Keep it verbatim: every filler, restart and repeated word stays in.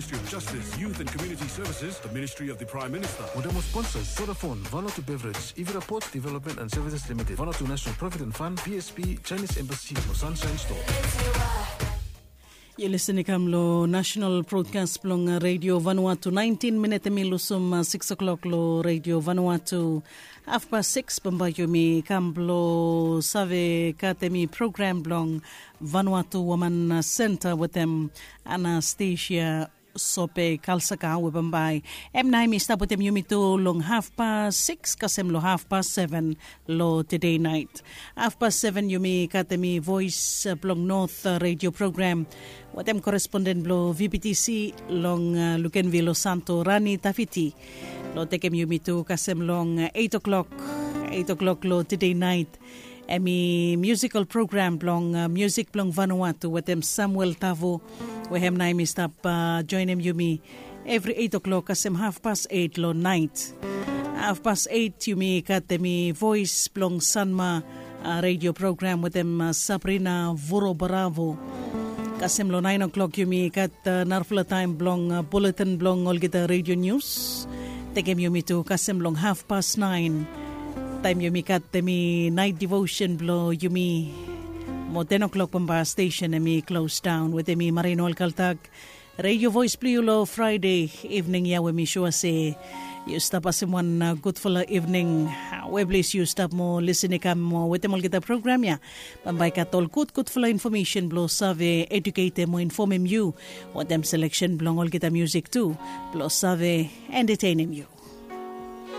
Ministry of Justice, Youth and Community Services, the Ministry of the Prime Minister. Modemo sponsors, Vodafone, Vanuatu Beverage, Ivira Ports Development and Services Limited, Vanuatu National Provident Fund, P S P, Chinese Embassy, mo Sunshine Store. Yu lisin i kam long national broadcast blong Radio Vanuatu. Nineteen minit em i lusum six o'clock long Radio Vanuatu. Hafpas six bambae yumi kam blong save gat em i program blong Vanuatu Woman Center wetem Anastasia Sope Kalsaka we bambae em nao em i stap wetem yumi tu long hafpas six kasem long hafpas seven long tede nait. Hafpas seven yumi gat em i Voes blong Not Radio program wetem koresponden blong V P T C long Lukenville Santo Rani Tafiti. Long tekem yumi tu kasem long eit o'klok, eit o'klok long tede nait. Em i musikal program blong musik blong Vanuatu wetem Samuel Tavo we hem nao em i stap joenem yumi evri eit o'klok kasem hafpas eit long nait. Hafpas eit yumi gat em i Voes blong Sanma Radio program wetem Sabrina Vuro Bravo. Kasem long nine o'clock yumi gat narafala taem blong buletin blong olgeta radio nius. Tekem yumi tu kasem long hafpas nine. Taem yumi gat em i nait devotion blong yumi. Mo ten o'clock bambae stesen em i klos daon wetem i Marino Alkaltak. Radio Voes blong yu long Fraede ivning ya we mi sua se yu stap asem wan gudfala ivning. We ples yu stap mo lisin i kam mo wetem olgeta program ya. Bambae gat ol gudgudfala infomesen blong save eduketem mo infomem yu wetem seleksen blong olgeta musik tu blong save entetenem yu.